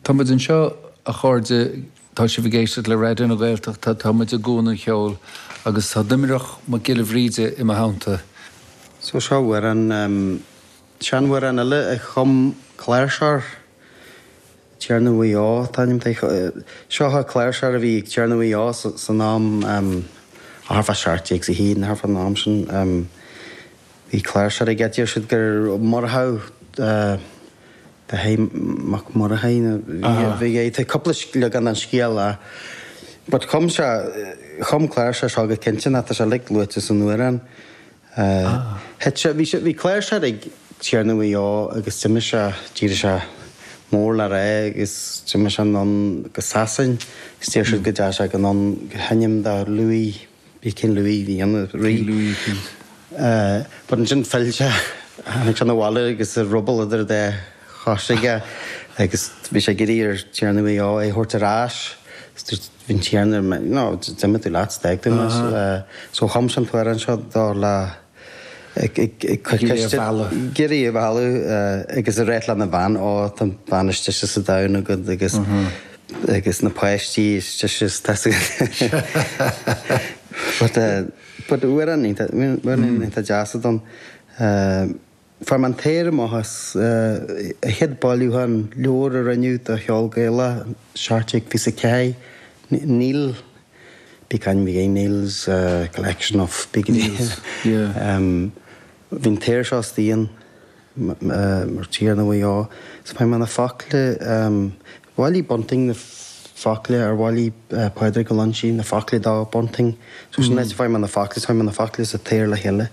Tá muid anseo, a chairde, tá sibh ag éisteacht le Raidió na Gaeltachta, tá muid i gCuan an Cheoil agus tá Doimreach Mac Giolla Bhríde i mo theannta. So seo amhrán, seanamhrán eile a chum cláirseoir, Tiarna Mhaigh Eo an t-ainm dó. Seo cláirseoir a bhí ag Tiarna Mhaigh Eo san am, thart fá 1701, thart fán am sin. Bhí cláirseoir aige, deir siad gur Murchadh de Mac Murchaidh a bhí aige. Tá cúpla leagan den scéal ach but chum sé, chum cláirseoir seo go cinnte nó tá sé uilig luaite san amhrán. Thit sé, bhí sé, bhí cláirseoir ag Tiarna Mhaigh Eo agus d'imigh sé, d'éirigh sé mór le rá agus d'imigh sé anonn go Sasain agus deir siad go dteachaigh sé anonn go sheinm do Louis Bhí King Louis, bhí an rí. King Louis eicínt. But ansin phill sé, tháinig sé 'na bhaile agus a ruball idir a dá chois aige agus bhí sé ag iarraidh ar Tiarna Mhaigh Eo é a thabhairt ar ais. Is dúirt, bhí an Tiarna, no, d'imigh tú leat, d'fhág tú mé. So chum sé an t-amhrán seo dó le, ag cur ceiste, ag iarraidh é a mhealladh agus ag ráit lena bhean, ó tá an bhean is deise sa domhan agat agus agus na páistí is deise is tá But but amhrán iontach amhrán iontach deas atá ann. Fuair mé an t-aoir amach as an chéad bailiúchán leabhar a rinneadh do cheol Gaelach, 1724, Neil, bí caint bhí Neil's Collection of Big Neil's, yeah. Bhí an t-aoir seo istigh ann. Mar Tiarna Mhaigh Eo. So fuair mé na focla, bhailigh Bunting na focla ar bhailigh Pádraig Ó Loingsigh na focla do Bunting. So sin áit a fuair mé na focla, fuair mé na focla sa t-aoir le chéile.